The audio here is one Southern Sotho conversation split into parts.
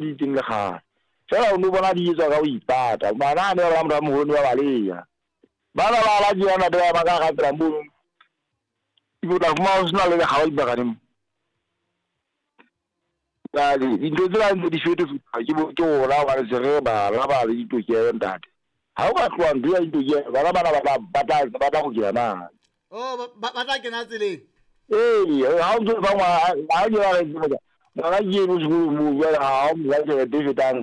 Di teng le kgale. Feela o no bona di etswa ka ho ipata. Bana ha ne ba bona motho a moholo ne ba baleha. Bana ba ala tjena ntate ba ema ka hara tsela mono. Ebe o tla fumana ho sena le lekgaba dipakaneng mo. Jwale dintho tsena ntse di fetofetoha ke bo ke rona hobane se re bana ba le ditokelo ntate. Ha o ka tloha ntho ya ditokelo bana bana ba tla ba tla ba tla kgutlela na. Oh ba ba tla kena tseleng. Ee, ha o ntso fa ngwana ha o kena re tseba ngwana ke eno sekolong moo jwale ha o mo fa tjhelete e fetang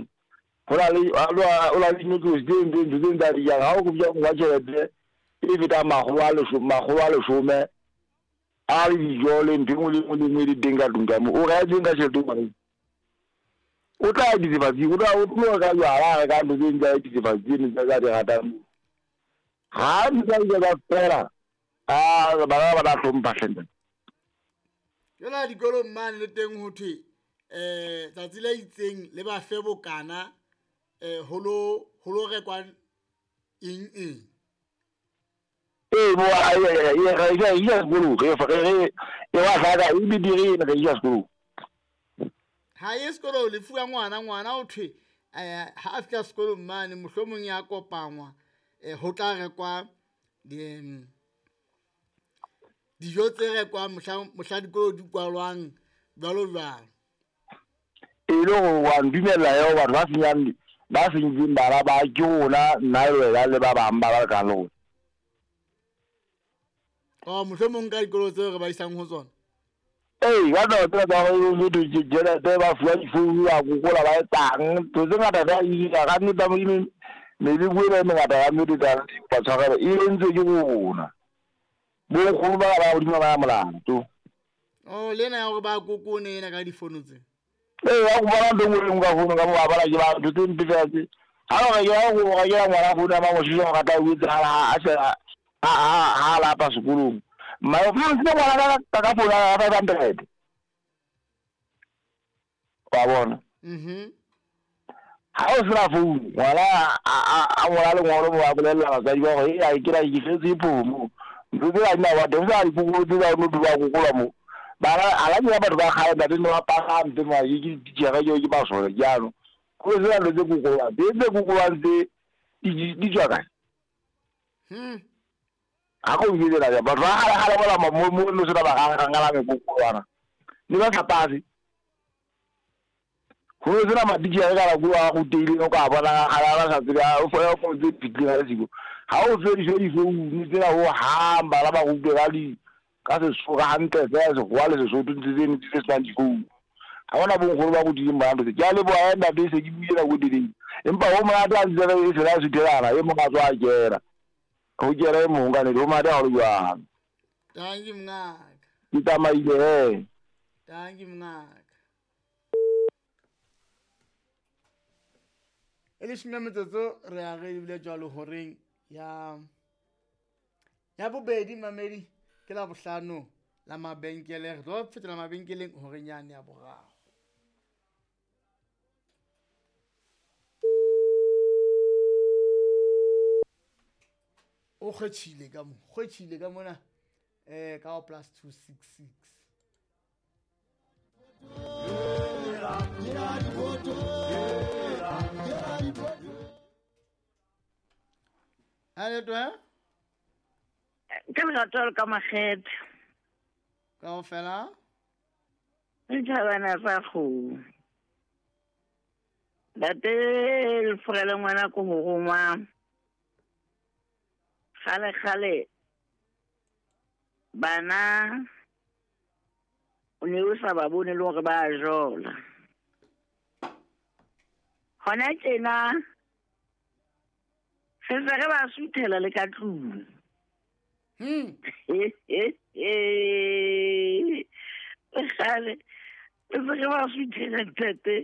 ho na le o na le dinotlolo tse ntse ntho tse ntse a di jang ha o kopja mo fa tjhelete e fetang 110 a le dijo le ntho e nngwe le nngwe le nngwe e le teng ka tlung ka moo o re a etseng ka tjhelete o ngwana o tla ya dithethefatsing o tla o tlo reka jwala a reka ntho tse ding tsa dithethefatsi tseno tse a di ratang moo ha ntho tsa dijo tsa fela a bana ba tla hlompha hle ntate. Jwale dikolong mane le teng ho thwe um tsatsi le itseng le ba fe bokana um ho lo rekwa eng eng. Ee, bo a e e re e isa sekolong re re re e wa hlaka e bidiri re isa sekolong. Ha ye sekolong le fuwa ngwana ngwana o thwe um ha a fihla sekolong mane mohlomong ya kopangwa um ho tla rekwa dijo tse rekwang mohla dikolo di kwalwang jwalo jwalo. E le gore wa ntumella eo batho ba senyang ba sentseng bana ba ke rona nna le wena le ba bang ba ba lekang le rona. Oh, mohlomong ka dikolo tseo re ba isang ho tsona. Ee, ka taba tsena tsa gore motho tjhelete ba fuwa difounu ba kokola ba etsang ntho tse ngata tsa ira ka nnete ya Modimo meleko ena e mengata ka nnete tsa kopa tshwarelo e entswe ke rona bonkgono ba ba godimo ba molato. Oh, le ena ya gore ba kokone ena ka difono tse. Ee, ba kopana ntho e nngwe le nngwe ka founu ka mo ba bala ke ba ntho tse mpe fela tse. Ha o rekela go rekela ngwana founu ya mamoshisha o rata o etsahala ha a se ha ha lapa sekolong. Mma o fumantshitse ngwana ka ka founu ya 500. Wa bona? Mhm. Ha o sena founu, ngwana a ngola lengolo mo a bolella batswadi ba gore e ke la ke fetse phomo. Ntho tsena di na wa teng sa dikokolo tse tsa no ba kokola mo. Bana ala ke batho ba kgale ntate ne ba pagame tse ma ke ditjhere ke ke masole jaanong. Go sena ntho tse kokolwang, tse tse kokolwang tse di tswa kae? Ha go nketsela ja batho ba kgale kgale mola mo mo no sena ba gangala mekokolwana. Ne ba sa pase. Go ne sena matitjhere ka nako a ruteileng o ka bona kgale a sa tsebe a o fo fo tse fitlhileng ka siko. Ha o fediswe difounu tsena ho hang bana ba rutwe ka di ka Sesotho hantle fela Sekgowa le Sesotho ntse tseno tse senang difounu. Ha hona bonkgono ba rutileng bana ntho tse. Ke a leboha he ntate se ke buile nako e telele. Empa ho monate ha ntse re e sena suthelana e mong a tswa a kena. Ho kena e mong ka nnete ho monate ha ho le jwalo. Dankie mongaka. Ke tsamaile he. Dankie mongaka. E leshome ya metsotso re a re ebile jwalo horeng ya ya bobedi mamedi ke la bohlano la mabenkele re tlo fetela mabenkeleng horeng yane ya boraro. O kgwetjhile ka mo kgwetjhile ka mona eh ka plus 266. Aletwa Ke lerato le ka makgethe. Kaofela Dithabana tsa kgomo. Ntate Lefurele ngwana ko ho rongwa. Kgale kgale bana o ne o sa ba bone le hore ba jola. Hona tjena re se re ba suthela le ka tlung. Kgale re se re ba suthela ntate,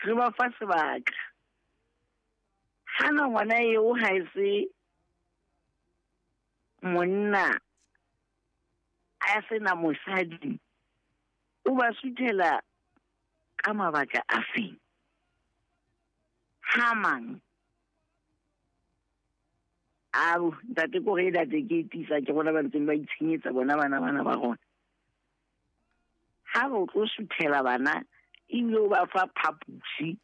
re ba fa sebaka. Hana ngwana eo ha e se monna a sena mosadi, o ba suthela ka mabaka a feng? Ha mang? Ao, ntate ko re ntate ke tisa ke rona ba ntseng ba itshenyetsa bona bana bana ba rona. Ha re tlo suthela bana ebile o ba fa phaposi